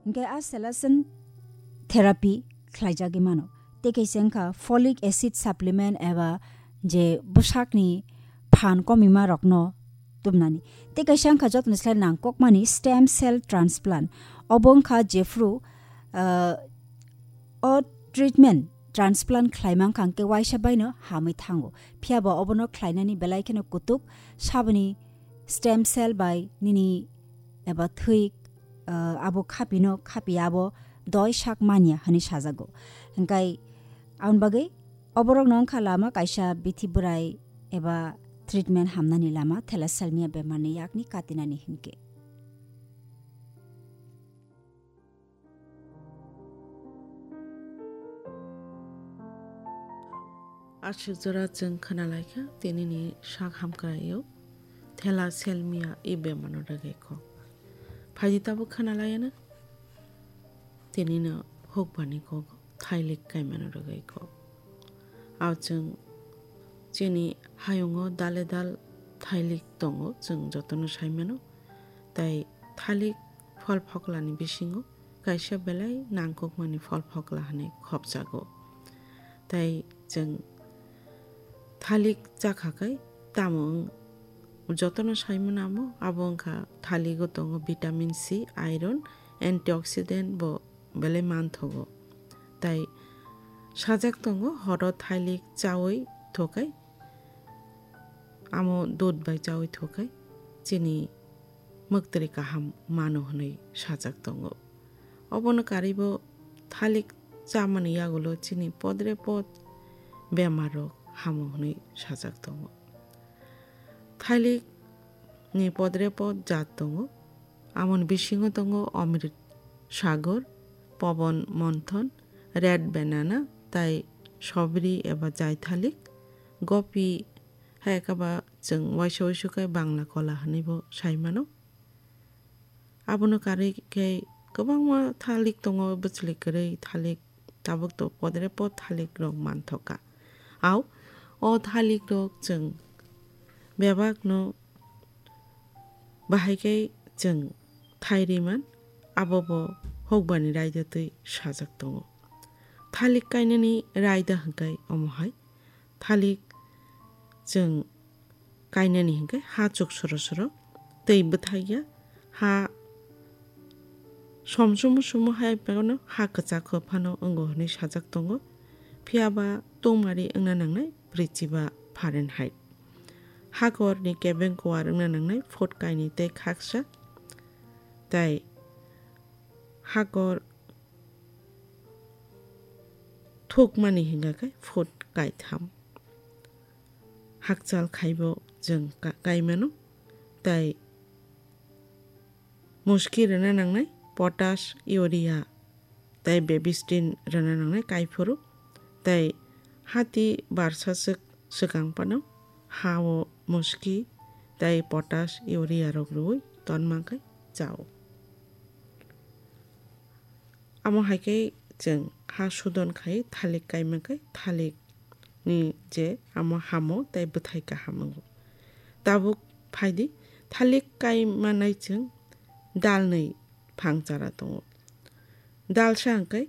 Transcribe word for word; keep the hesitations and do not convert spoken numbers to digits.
Hwnkhe a Selason therapy khlaijagwi mano. Tei kaisa wngkha folic acid supplement eba je bwsakni phan komima rokno tubnani. Tei kaisa wngkha jotoni slai nangkokmani stem cell transplant. Obo wngkha jephru, ah, o treatment transplant khlaima wngkha hwnkhe waisa baino hamwi thango. Phiya bo obono khlainani belai kheno kutuk saboni stem cell bai nini eba thwi, ah, abo khapino khapi abo doi sak manya hwnwi sajago. Hwnkhe aboni bagwi oborokno wngkha lama kaisa bithi bwrai eba treatment hamnani lama thalassemia bemarni yakni katinani hinkhe. Aswk jora chwng khwnalaikha tinini sak hamkraio thalassemia i bemarno rwgwi kok. Phaidi tabuk khwnalaiyano tinino hukbani kok thailik kaimano rwgwi kok. Ao chwng chini hayungo dale dal thailik tongo, chwng jotono saimano. Tai thalik phol phoklani bisingo kaisa belai nangkukmani phol phokla hwnwi khopjago. Tai chwng thalik chakha khai tamo wng-, jotono saimano amo, abo wngkha thaligo tongo vitamin C, iron, antioxidant bo belai manthogo. Tai sajak tongo horo thalik chaui thokai, amo dud bai chaui thokai chini mwktwrwi kaham mano hwnwi sajak tongo. Obono karwibo thalik chamani yagulo chini podre pod bemar rok hamo hwnwi sajak tongo. Thalik ni podre pod jat tongo. Amoni bisingo tongo Amrit Sagor, Pobon Monthon, Red Banana, tai Sobri eba Jaithalik, Gopi, hai khe ba chwng waisa waisu khe Bangla kola hwnwi bo sai mano. Abono karwi khe kwbangma thalik tongo, bwchwlwi kwrwi thalik, tabuk to podre pod thalik rok manthoka. Au, o thalik rok chwng bebak no bahai khe chwng thai ri man, abo bo hokbani raida twi sajak tongo. Thalik kainani raida hwnkhe omo hai, thalik chwng kainani hwnkhe ha chuk soro soro twi bwthai ya, ha som sumu sumu hai phano ha kwchak phano wngo hwnwi sajak tongo. Phiya ba tungmari wngna nangnai brwichiba Fahrenheit. Hakorni kebeng kuar wngna nangnai foot kainwi tei khaksa, tei hakor thukmani hingka khe foot kaitham. Hakchal khaibo chwng ka-, kaimano, tei muski rwna nangnai potash, urea, tei bebistin rwna nangnai kaiphuru, tei hati barsa swk swkang phano ha-o muski tei potash, urea rok rwui tonma khe chao. Amo hai khe chwng ha sudon khai thalik kaima khe thalik ni je amo hamo tei bwthai kaham wngo. Tabuk phaidi, thalik kaimanai chwng dalnwi phang chara tongo. Dalsa hwnkhe